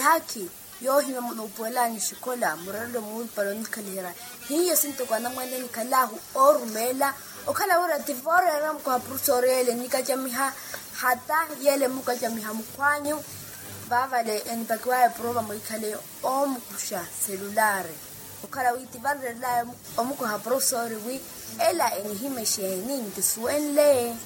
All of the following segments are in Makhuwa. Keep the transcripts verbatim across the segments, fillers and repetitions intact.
Eyaakhi yoohimya nuupuwelani oxikola murerelo muulupale onikhaliherya. Hiyo sintoko anamwene nikhalaahu oorumeela okhala wira tivooreera mukoha purusoori yeele enikacamiha hata yeele emukacamiha mukhwanyu. Vaavale enipakiwaya eprova mwikhale oomukuxa selulaari okhala wi tivarerelaya omukoha purusoori wi ela enihimexe eni nkisuwenle.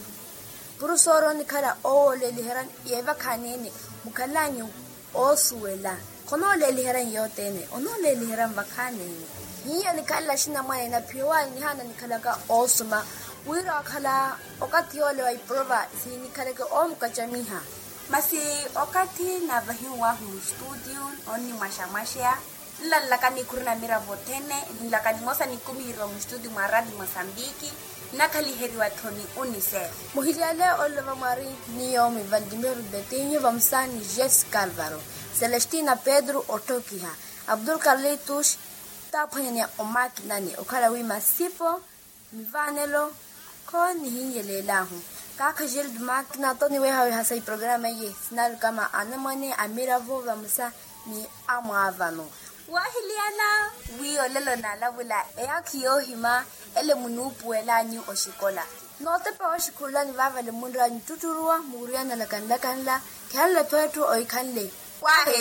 Purusoori onikhala owooleliheryani yeevakhaneene mukhalanyu oosuwela. Khonooleeliheryani yothene onooleeliheryani vakhaneene. Hiyo nikhalela axinamwane naphiwani nihaana nikhalaka oosuma wira okhala okathi yoole wa iprova sinikhaleke oomukacamiha. Masi okathi naavahiw'ahu mustutiyo onnimwaxamwaxeya nlalelaka nikhuri na miravo othene nlaka nimosa nikumi hirwa mustutiyo mwa rati mosambiki nnakhaliheriwa-tho ni unicef. Muhilyale olova mwari ni yoomi vantimiro betinho vamosa ni jess calvaro, celestina pedro otthokiha, abdul carlitus taaphwanyaniya omakinani okhala wi masipo mivaanelo khonihinyelela-hu. Kaakha gilde makina toniwehaweha sa iprograma iye sinalukama anamwane amiravo vamosa ni amwaavano. Woohiliyana wi olelo naalavula eyaakhi yoohima ele munuupuwelani oxikola nootepa wooxikhululani vaavale munraayi nittuttuluwa muwuriyana nlakanlakanla. Khihanle-tho etthu oikhanle. Wahe